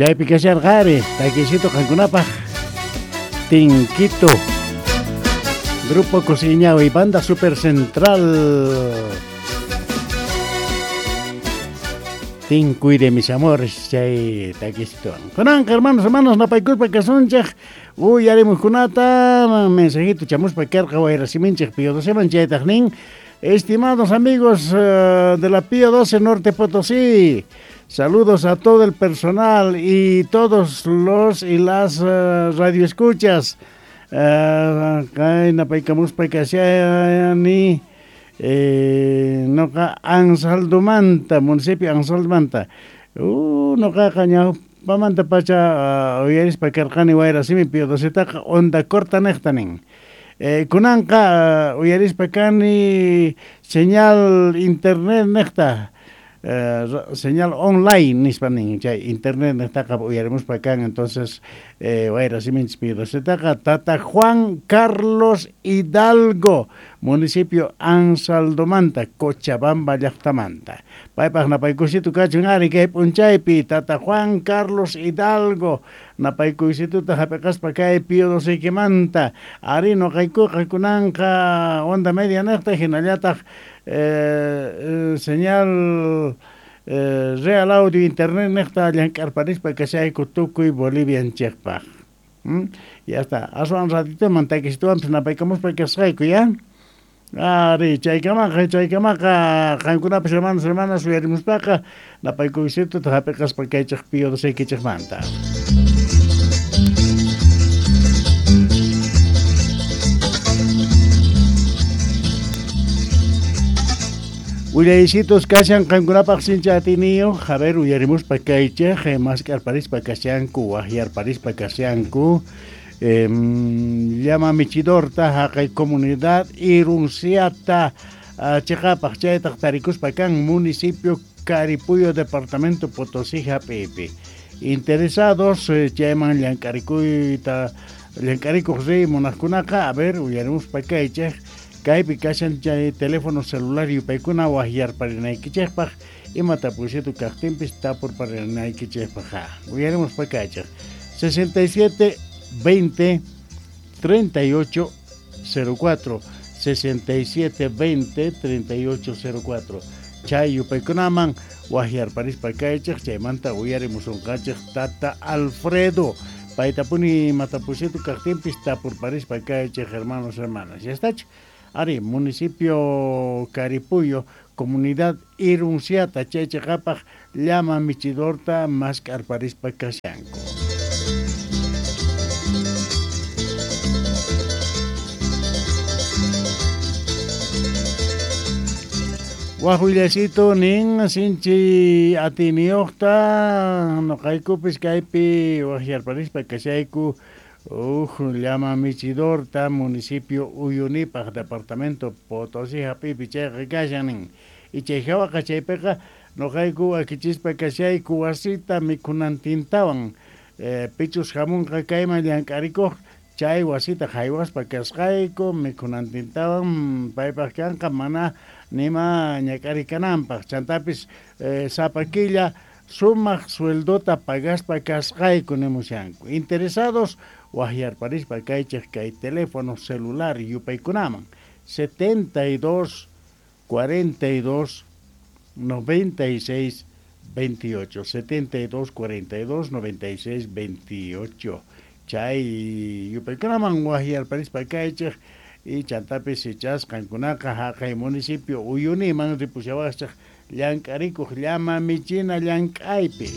Chaypi kasharqa ari takisito qankunapaj Tinquito. Grupo Cosiñao y Banda Super Central. Tinkuy de mis amores chay takisito. Kunanqa hermanos, hermanos, napaykuspa kasunchej uyarimuqkunata mensajito chamuspa karqa wayrasiminchej Pío 12 chaytaq nin. Estimados amigos de la Pío 12 Norte Potosí, saludos a todo el personal y todos los y las radioescuchas. Kay napaykamuspa kashani noqa Anzaldomanta, municipio Anzaldomanta. Noqaqa ñawpamanta pacha uyarispa karqani wayrasimi Pío 12taqa onda corta neqta nin. Kunanqa uyarispa kani señal internet neqta, señal online nispa nin, chay internet neqtaqa uyarimuspa kan, entonces wayrasiminchis Pío 12taqa Tata Juan Carlos Hidalgo, municipio Anzaldomanta, Cochabamba llaqtamanta. Paypaq napaykusito kachun ari kay p'unchaypi Tata Juan Carlos Hidalgo napaykuysituta hap'iqaspa kay Pío 12manta. Ari noqaykuqa kunanqa onda media neqta hinallataq señal Real Audio Internet neqta llank'arparispa kashayku tukuy Bolivianchikpaq. Ya está. Aswan ratitoman takisituwanpis napaykamuspa kasqayku ya. Ari, chaykamaqa qankunapas hermanos, hermanas uyarimuspaqa napaykuysituta hap'iqaspa kaychej Pío 12kichejmanta. Willaysitos kashan qankunapaq sincha atiniyuq, a ver uyarimuspa kaychej, mask'arparispa kashanku, waqyarparispa kashanku. Llama michidorta haqay comunidad Irunciata chiqapaq chaytaq tarikuspa kan municipio Caripuyo, departamento Potosí hap'ipi. Interesados chayman llank'arikuyta llank'arikuq riy munaqkunaqa, a ver uyarimuspa kaychej kaypi kashan chay teléfono celular yupaykuna waqyarparinaykichejpaq ima tapuysitu kaqtinpis tapurparinaykichejpaq. Uyarimuspa kaychej 67 20 38 04 67 20 38 04 chay yupaykunaman waqyarparispa kaychej chaymanta uyarimusunqachej Tata Alfredo paytapuni matapuysitu kaqtinpis tapurparispa kaychej hermanos, hermanas. Ya está. Ari, municipio Caripuyo, comunidad Irunciata, chay chiqapaq llama michidorta mask'arparispa kashanku. Wajullasito nin sinchi atiniyuqta noqaykupis kaypi waqyarparispa kashayku llama michidorta municipio Uyunipaq departamento Potosí hap'ipi chayqa kashan nin. Y chay hawaqa chaypiqa noqayku wakichispa kashayku wasita mikhunantintawan pichus hamunqa kayman llank'arikuq chay wasita haywaspa kasqayku mikhunantintawan paypaq kanqa mana nima ñak'arikananpaq chantapis sapa killa sumaq sueldota pagaspa kasqayku nimushanku. Interesados waqyarparispa kaychej kay teléfono celular yupaykunaman 72 42 96 28 72 42 96 28 chay yupaykunaman waqyarparispa kaychej y chantapis ichasqankunaqa haqay municipio Uyuniman ripushawaqchej llank'arikuq llama michina llank'aypi.